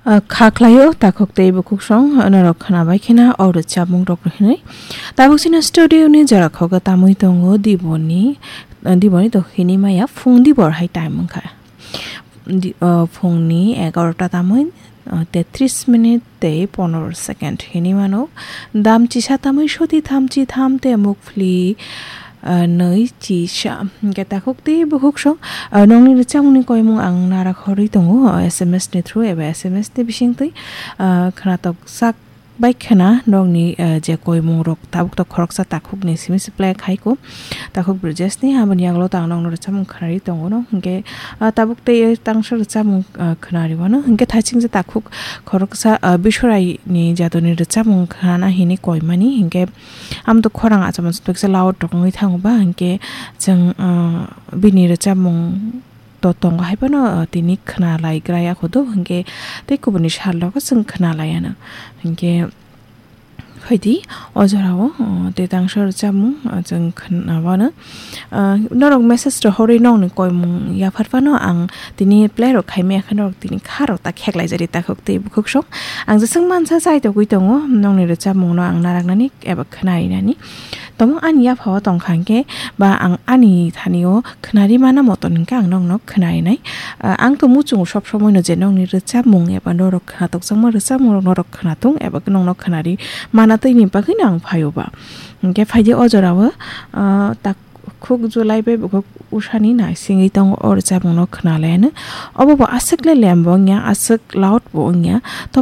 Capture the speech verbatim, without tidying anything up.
Ah, kha khlaio, takhuk tei bukhuk song, norok khwnabai khena o rwchapmung rok hinwi. Tabuk chini studio ni jora khogo tamwi tongo Diboni, ah, Diboni to hini maya phung dibor hai time wngkha. Di-, ah, phungni egarota tamwi, ah, tetris minute tei pondro second hini mano. Dam chisa tamwi soti thamchi tham te mukphli, ah, nwi chisa. Hingke takhuk tei bukhuk song, ah, nongni rwchapmungni koimung ang nara khorwi tongo, ah, S M S ni through eba S M S ni bisingtwi, ah, khwnatok sak bai khwna nongni, ah, je koimung rok tabuk tok khoroksa takhuk ni simi se play khai ko. Takhuk Brijesni aboni yagulo tang nongno rwchapmung khwnari tongo no. Hingke, ah, tabuk tei tangsa rwchapmung, ah, khwnari wano. Hingke thaiching je takhuk khoroksa, ah, Bishorai ni jadoni rwchapmung khwna hini koimani. Hingke Amtwk khorang achomsa twksa loud rok wngwi thango ba, hinkhe chwng, ah, bini rwchapmung to tongo hai phano, ah, tini khna lai gra ya kho do, hinkhe tei kubuni sal rok chwng khna lai ya no. Hinkhe phaidi o jora o, ah, tei tangsa rwchapmung, ah, chwng khna wano. Ah, norok message rok horwi nokni koimung yaphar phano ang tini play rok khai maya khe norok tini kha rok ta kheklai jari takhuk tei bukhuk song. Ang jeswng mansa chai togwi tongo, nokni rwchapmung no ang naraknani eba khwnarinani. Tamo ani yaphao tongkha hinkhe ba ang ani thani o khwnari mana moton hinkhe ang nokno khwnarinai. Ah, ang to muchungo sob somoi no je nokni rwchapmung eba norok khwnatok jakma rwchapmung rok norok khwnatung eba nokno khwnari mana twi ni bagwi no ang phaio ba. Hinkhe phaidi o jora o, ah, tak khuk July bai bukhuk usani naisingwi tongo o rwchapmung no khwnalaiano. Obo bo aswk le lem bo wngya, aswk loud bo wngya.